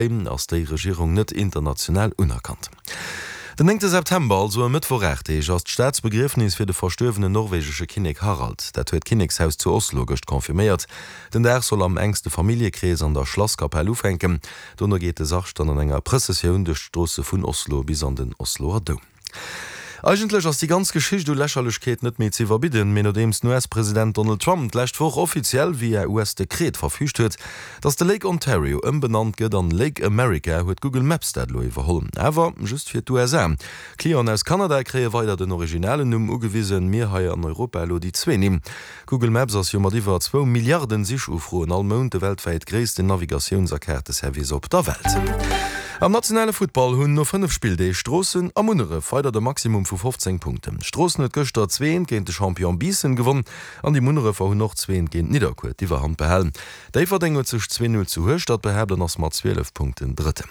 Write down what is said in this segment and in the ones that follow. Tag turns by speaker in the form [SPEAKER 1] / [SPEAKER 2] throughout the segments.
[SPEAKER 1] Ass déi Regierung net international unerkannt. Den néngte September, also e Mëttwoch 8 Deeg, ass d'Staatsbegriefnis fir de verstuerwenen norwegesche Kinnek Harald. Dat huet d'Kinnekshaus zu Oslo gëscht confirméiert. Den Dag soll am enkste Familljekrees an der Schlasskapell ufänken. Dono geet de Sarg dann an enger Prëssessioun duerch d'Stroosse vun Oslo bis an den Osloer Doum. Eigentlech ass déi ganz Geschicht u Lächerlechkeet net méi ze iwwerbidden, mee nodeems den US-President Donald Trump d'lescht Woch offiziell via US-Dekret verfüügt huet, datt de Lake Ontario ëmbenannt gëtt an Lake America, huet Google Maps dat elo iwwerholl. Awer just fir d'USA. Clienten aus Kanada kréie weider den originalen Numm ugewisen, mir hei an Europa elo déi zwee Nimm. Google Maps ass jo mat iwwer zwou Milliarden Sichufroen all Mount de weltwäit gréissten Navigatiouns a Kaarteservice op der Welt. Am nationale Futtball hunn no 5 Spilldeeg Stroossen a Munneref weider de Maximum vu 15 Punkten. Stroossen huet gëschter 2 eent géint de Champion Biissen gewonn an déi Munnerefer hunn och 2 eent géint Nidderkuer d'Iwwerhand behalen. Déifferdeng huet sech 2 Null zu Hueschtert behaapt an ass mat 12 Punkten Drëtten.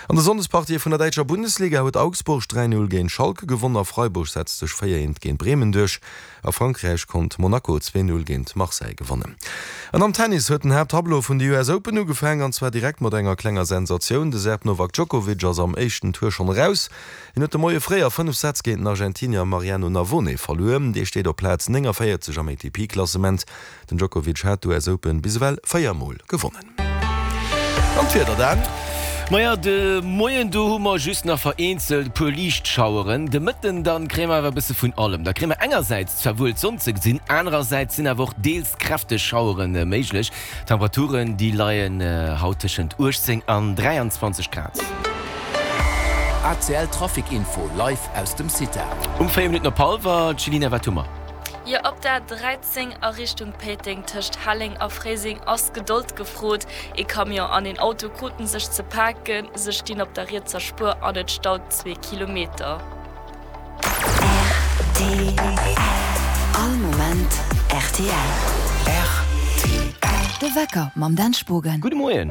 [SPEAKER 1] An de Sonndespartië vun der däitscher Bundesliga huet Augsburg 3 Null géint Schalke gewonn a Freiburg setzt sech 4 eent géint Bremen duerch. A Frankräich konnt Monaco 2, 0 géint Marseille gewannen. An am Tennis huet den Haapttableau vun de US Open ugefaang, an zwar direkt mat enger klenger Sensatioun. De Serb Novak Djokovic ass am éischten Tour schonn eraus. Hien huet de Moie fréi a 5 Sätz géint den Argentinier Mariano Navone verluer. Dee steet op Plaz 49 am ATP-Klassement. Den Djokovic hat d'US Open bis ewell 4 Mol gewonnen. An d'Wieder dann?
[SPEAKER 2] Maja, de Moien do hu mer just nach vereenzelt e puer liicht Schaueren. De Mëtten dann kréie mer awer e bësse vun allem. Da kréie mer engersäits zwar wuel d'Sonn ze gesinn, anerersäits sinn awer och deels kräfteg Schauere méiglech. D'Temperaturen déi leien haut tëschent 18 an 23 Grad.
[SPEAKER 3] ACL Trafic Info live aus dem CITA.
[SPEAKER 2] Um 4 Minutten op hallwer, Céline, wat hu mer?
[SPEAKER 4] Jo, op der 13 a Richtung Péiteng tëscht Helleng a Fréiseng ass Gedold gefrot. Ee Camion an een Auto kruten sech ze paken, se stinn op der rietser Spuer an et staut zwee Kilometer.
[SPEAKER 5] Rtl All Moment rtl.
[SPEAKER 6] De Wecker mam Dan Spogen.
[SPEAKER 2] Gudde Moien.